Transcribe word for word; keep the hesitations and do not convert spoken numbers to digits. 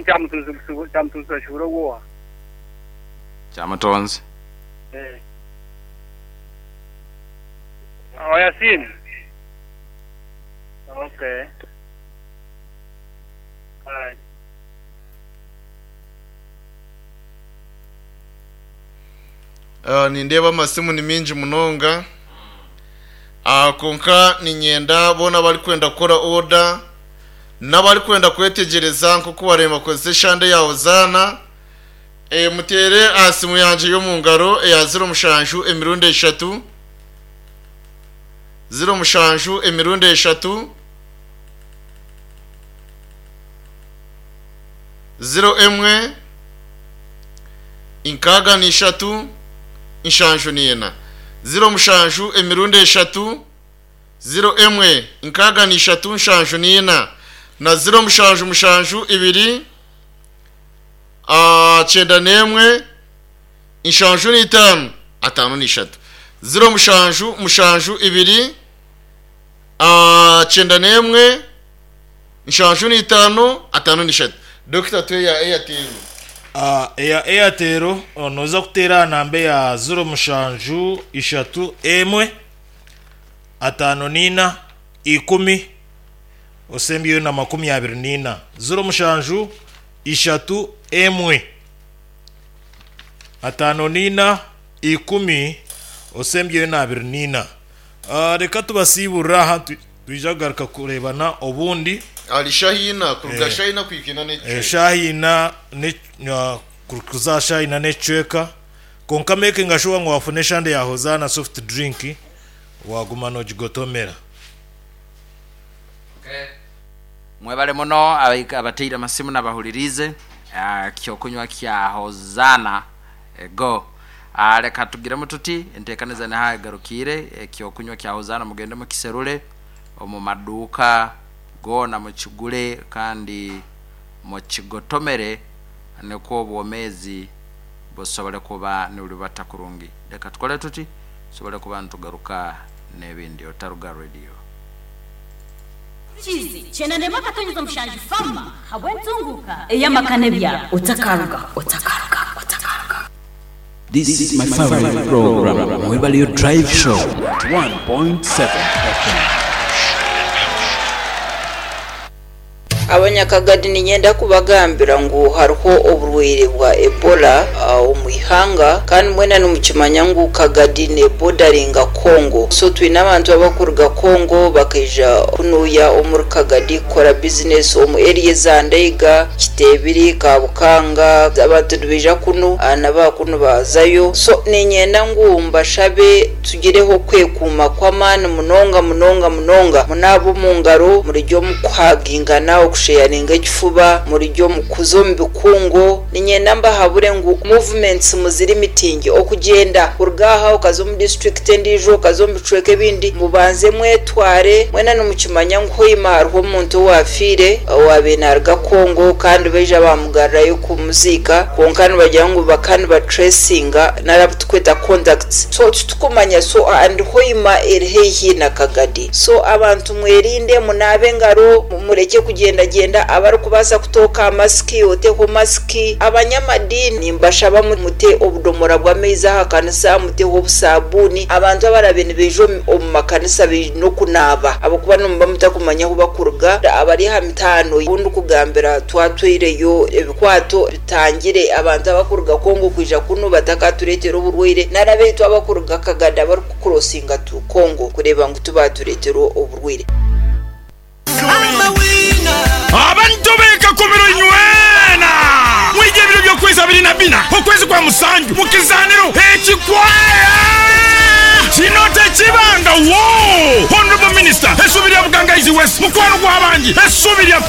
Kyamutunzi Kyamutunzi Bashura ogw'owa. Kyamutonzi. Eh. Oh, Yasin. Okay. All right. Ah, nindeeba amasimu ni mingi munonga. Ah, kwonka niinyenda boona abarikwenda kukora oda n'abarikwenda kwetegyereza nk'oku wareeba kozesa eshande ya Hozaana. E, muteere aha simu yangye y'omu ngaro eya ziro mushanju emirundi eshatu, ziro mushanju emirundi eshatu, ziro emwe nkaaga n'ishatu nshanju n'ena. Ziro mushanju emirundi eshatu, ziro emwe nkaaga n'ishatu nshanju n'ena na ziro mushanju mushanju ibiri, ah, kyenda n'emwe nshanju n'itaano ataano n'ishatu. Ziro mushanju mushanju ibiri, ah, kyenda n'emwe nshanju n'itaano ataano n'ishatu. Dokita, tuhe eya Airtel. Ah, eya Airtel nooza kuteera aha namba eya ziro mushanju ishatu emwe ataano n'ina ikumi osembyeyo na makumi abiri n'ina. Ziro mushanju ishatu emwe ataano n'ina ikumi osembyeyo na abiri n'ina. Ah, reka tubasiiburire aha tu-, twija kugaruka kureebana obundi. Ari Shahina, kuruga Eh. Shahina kuhika n'ekicweka. Eh, Shahina ne, uh, kuza Shahina n'ekicweka. Kwonka making sure ngu wafuna eshande ya Hozaana soft drink waguma nogigotomera. Mwebale muno abaika-, abateire amasimu n'abahuririze. Ah, kyokunywa kya Hozaana go. Ah, reka tugiremu tuti enteekaniza niho egarukiire. Ekyokunywa kya Hozaana mugende mukiserure omu maduuka goona, mukigure kandi mukigotomere nikwo obwomeezi busobole kuba nibulibata kurungi. Reka tukole tuti tusobole kuba nitugaruka n'ebindi. Otaruga Radio. Chizi, kyenda ndema akatonyeza omushanju fama habw'entunguka ey'amakane bya otakaruga, otakaruga, otakaruga. This is my favorite program, Mwebalio Drive Show, one point seven F M. Abanyakagadi ninyenda kubagambira ngu hariho oburwaire bwa Ebola, uh, omu ihanga, kandi mwena nimukimanya ngu Kagadi ne bordaringa Congo. So twine abantu abakuruga Congo bakaija kunuya omuri Kagadi kukora business omu area za Ndeiga, Kitebiri, Kabukanga, abantu nibaija kunu, uh, naba kunu bazayo. So ninyenda ngu mbashabe tugireho kwekuuma kw'amaani munonga munonga munonga, munabe omu ngaro, murijye omu kuhagingana, okusheyaringa ekifuba, murijye omu kuza omu bikungu. Ninyenda mbahabure ngu movements muziri mitingi, okugyenda kuruga aha okaza omu district endiijo, okaza omu bicweka ebindi, mubanze mwetware. Mwena nimukimanya ngu hoima hariho omuntu owafiire owaabaire naaruga Congo, kandi baija bamugarurayo kumuziika, kwonka nibagira ngu bakaba nibatracinga nari tukweta contacts. So titukumanya, so and hoima eri haihi na Kagadi. So abantu mwerinde, munabe engaro, mureke kugyendagenda, abarikubaasa kutooka masiki oteho masiki. Abanyamadini mbashaba mute obudomora bw'amaizi aha kanisa, muteho obusabuuni. Abantu abarabe nibaija omu, omu makanisa baine okunaaba, ahabw'okuba nimuba mutakumanya ahu bakuruga. Abari aha mitaano obundi kugambira twatwireyo ebikwato bitangire abantu abakuruga Congo kwija kunu batakatureetera oburwaire, nari abaitu abakuruga Kagadi abarikukurosinga tu Congo kureeba ngu tubatureetera oburwaire. Abantu bekakumiro inywena mwije ebiro by'okwezi abiri na bina okwezi kwa musanju mukizaniro ekikwaya kino tekibanga. Wo Honorable Minister essuubi lya Bugangaizi West, mukwano gw'abangi, essuubi lya